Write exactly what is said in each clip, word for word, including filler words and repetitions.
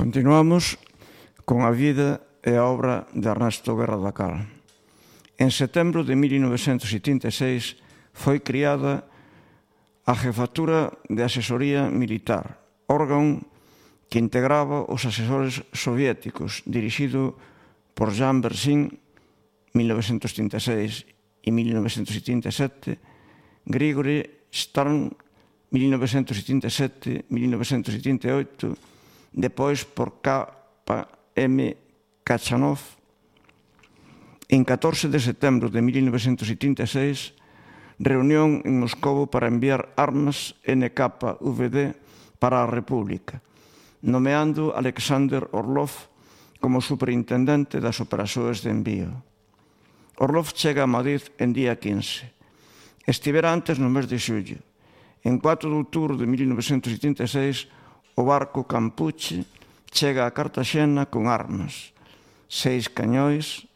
Continuamos con a vida e a obra de Ernesto Guerra da Cal. En setembro de mil novecentos setenta e seis foi criada a Jefatura de Asesoría Militar, órgano que integraba os asesores soviéticos, dirixido por Jean Bersin, mil novecentos trinta e seis e mil novecentos setenta e sete, Grigori Stern, mil novecentos setenta e sete a mil novecentos setenta e oito, depois por K M Kachanov. En catorce de setembro de mil novecentos setenta e seis, reunión en Moscou para enviar armas N K V D para a República, nomeando Alexander Orlov como superintendente das operacións de envío. Orlov chega a Madrid en día quince. Estivera antes no mes de xullo. En cuatro de outubro de mil novecentos setenta e seis, o barco Campuche chega a Cartaxena con armas, seis cañóis,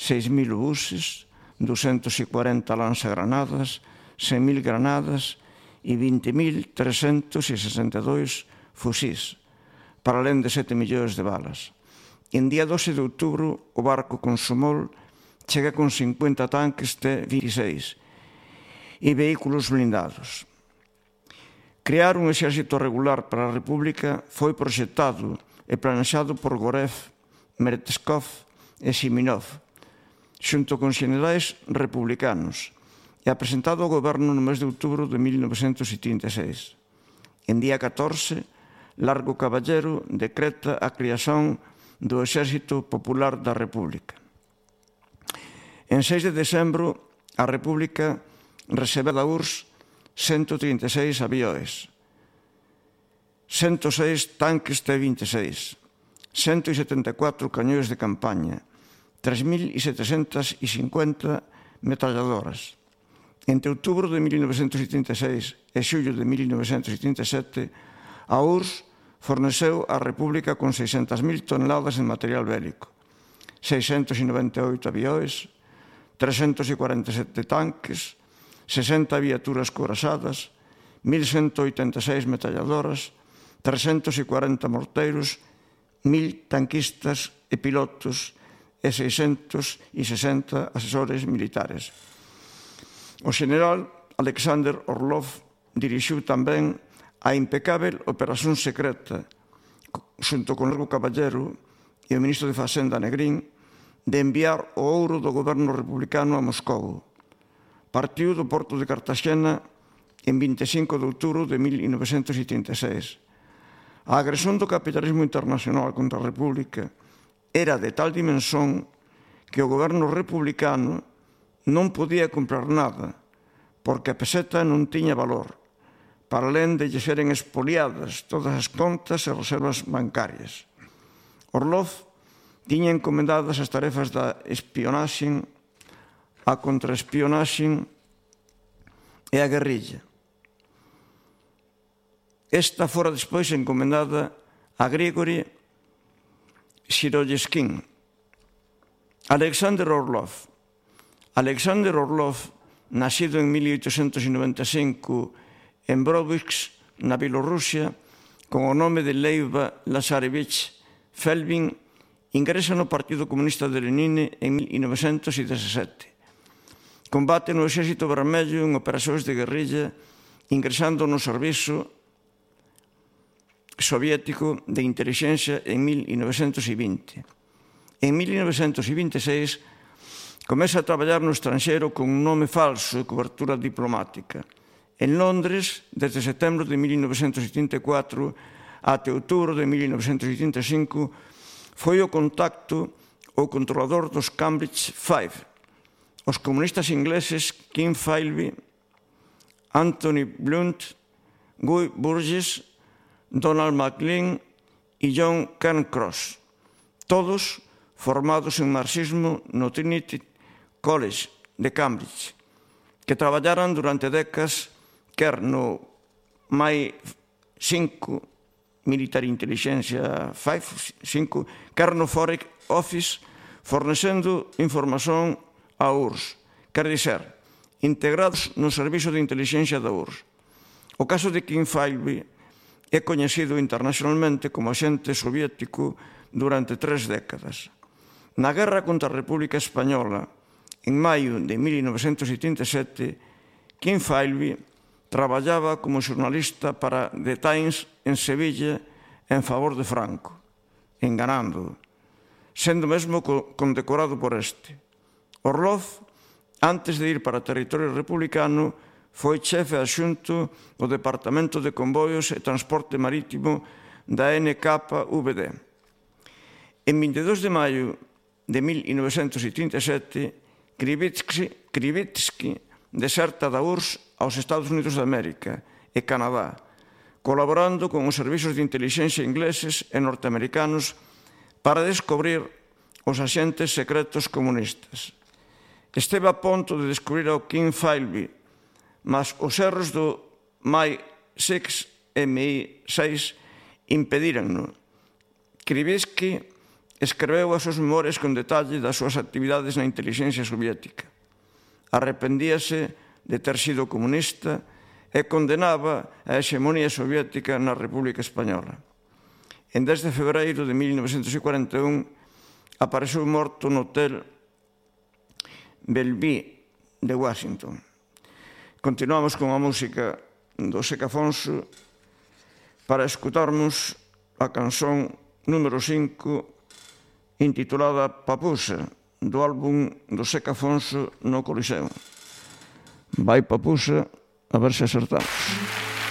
seis mil buses, ducentos e cuarenta lanzagranadas, cen mil granadas e vinte mil trescentos e sesenta e dous fusís, para alén de sete millóns de balas. En día doce de outubro, o barco Consumol chega con cincuenta tanques T veintiséis e vehículos blindados. Crear un exército regular para a República foi proxectado e planexado por Gorev, Meretskov e Siminov, xunto con xenerais republicanos, e apresentado ao goberno no mes de outubro de mil novecentos setenta e seis. En día catorce, Largo Caballero decreta a creación do Exército Popular da República. En seis de decembro, a República recebe da U R S S ciento trinta e seis avións, ciento seis tanques T veintiséis, ciento setenta e catro cañóns de campaña, tres mil setecentos cincuenta metralladoras. Entre outubro de mil novecentos setenta e seis e xullo de mil novecentos setenta e sete, a U R S S forneceu á República con seiscentas mil toneladas de material bélico, seiscentos noventa e oito avións, trescentos cuarenta e sete tanques, sesenta viaturas corazadas, mil ciento oitenta e seis metralladoras, trescentos cuarenta morteiros, mil tanquistas e pilotos e seiscentos sesenta asesores militares. O xeneral Alexander Orlov dirixiu tamén a impecável operación secreta, xunto con Largo Caballero e o ministro de Facenda Negrín, de enviar o ouro do goberno republicano a Moscou. Partiu do porto de Cartaxena en vinte e cinco de outubro de mil novecentos setenta e seis. A agresión do capitalismo internacional contra a República era de tal dimensón que o goberno republicano non podía comprar nada, porque a peseta non tiña valor, para alén de lle seren expoliadas todas as contas e reservas bancarias. Orlov tiña encomendadas as tarefas da espionaxe, a contraespionaxe e a guerrilla. Esta fora despois encomendada a Grigori Siroyeskin. Alexander Orlov. Alexander Orlov, nacido en mil oitocentos noventa e cinco en Brodivsk, na Bielorrusia, con o nome de Leiva Lazarevich Felbin, ingresa no Partido Comunista de Lenin en mil novecentos dezasete. Combate no Exército Vermello en operacións de guerrilla, ingresando no servizo soviético de inteligencia en mil novecentos vinte. En mil novecentos vinte e seis, comeza a traballar no estranxeiro con un nome falso de cobertura diplomática. En Londres, desde setembro de mil novecentos setenta e catro até outubro de mil novecentos setenta e cinco, foi o contacto o controlador dos Cambridge Five, os comunistas ingleses Kim Philby, Anthony Blunt, Guy Burgess, Donald MacLean e John Cairncross, todos formados en marxismo no Trinity College de Cambridge, que traballaran durante décadas quer no M I cinco, Military Intelligence cinco, quer no Foreign Office, fornecendo información a U R S S, quer dizer, integrados no servizo de inteligencia da U R S S. O caso de Kim Philby é coñecido internacionalmente como axente soviético durante tres décadas. Na guerra contra a República Española, en maio de mil novecentos setenta e sete, Kim Philby traballaba como xornalista para The Times en Sevilla en favor de Franco, enganando, sendo mesmo condecorado por este. Orlov, antes de ir para territorio republicano, foi chefe adxunto do Departamento de Convoios e Transporte Marítimo da N K V D. En vinte e dous de maio de mil novecentos setenta e sete, Krivitsky deserta da U R S S aos Estados Unidos de América e Canadá, colaborando con os servizos de intelixencia ingleses e norteamericanos para descubrir os axentes secretos comunistas. Esteve a punto de descubrir ao Kim Philby, mas os erros do M I seis M I seis impedíranno. Krivitsky escreveu as súas memorias con detalle das súas actividades na intelixencia soviética. Arrependíase de ter sido comunista e condenaba a hexemonía soviética na República Española. En dez de febreiro de mil novecentos cuarenta e un apareceu morto no Hotel Bellevue de Washington. Continuamos con a música do Seca Afonso para escutarmos a canción número cinco intitulada Papusa, do álbum do Seca Afonso no Coliseo. Vai Papusa, a ver se acertamos.